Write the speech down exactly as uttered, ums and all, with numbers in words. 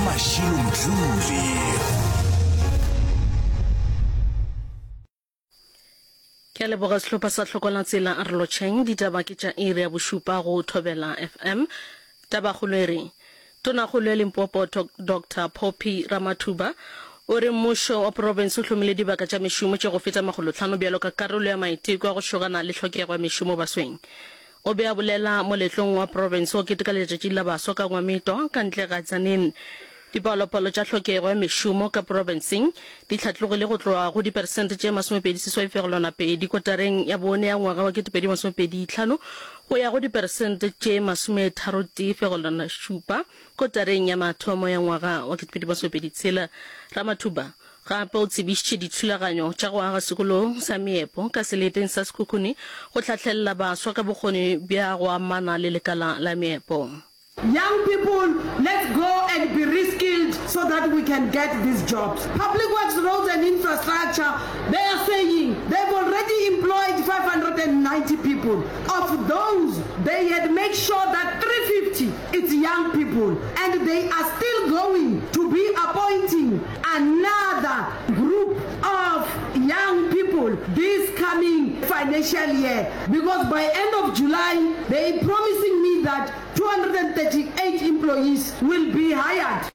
Mashilo Mdluli. Ke a leboga sehlopha sa Hlokola Tsela a re lotšheng. Ditaba ke tša iri ya bošupa go Thobela F M. Tabakgolo e re, Tonakgolo ya Limpopo Doctor Phophi Ramathuba o re mmušo wa profense o hlomile dibaka tša mešomo tše go feta makgolotlhano bjalo ka karolo ya maiteko a go šogana le hlokego ya mešomo basweng. O be a bolela moletlong wa profense wa keteka letšatši la baswa ka Ngwametwa ka ntle ga Tzaneen. Dipalopalo tša hlokego ya mešomo ka profenseng di hlatlogile go tloga go diperesente tše masomepedi seswai fegelwana pedi kotareng ya bone ya ngwaga wa ketepedi masomepedi tlhano go ya go diperesente tše masometharo tee fegelwana šupa kotareng ya mathomo ya ngwaga wa ketepedi masomepedi tshela. Ramathuba gape o tsebišitše dithulaganyo tša go aga sekolo sa meepo ka seleteng sa Sekhukhune go hlahlelela baswa ka bokgoni bja go amana le lekala la meepo. Young people, let's go and be reskilled so that we can get these jobs. Public Works Roads and Infrastructure, they are saying they've already employed five hundred and ninety people. Of those, they had made sure that three fifty it's young people and they are still going to be appointing another group of young people this coming financial year because by end of July they promising me that two hundred and thirty eight employees will be hired.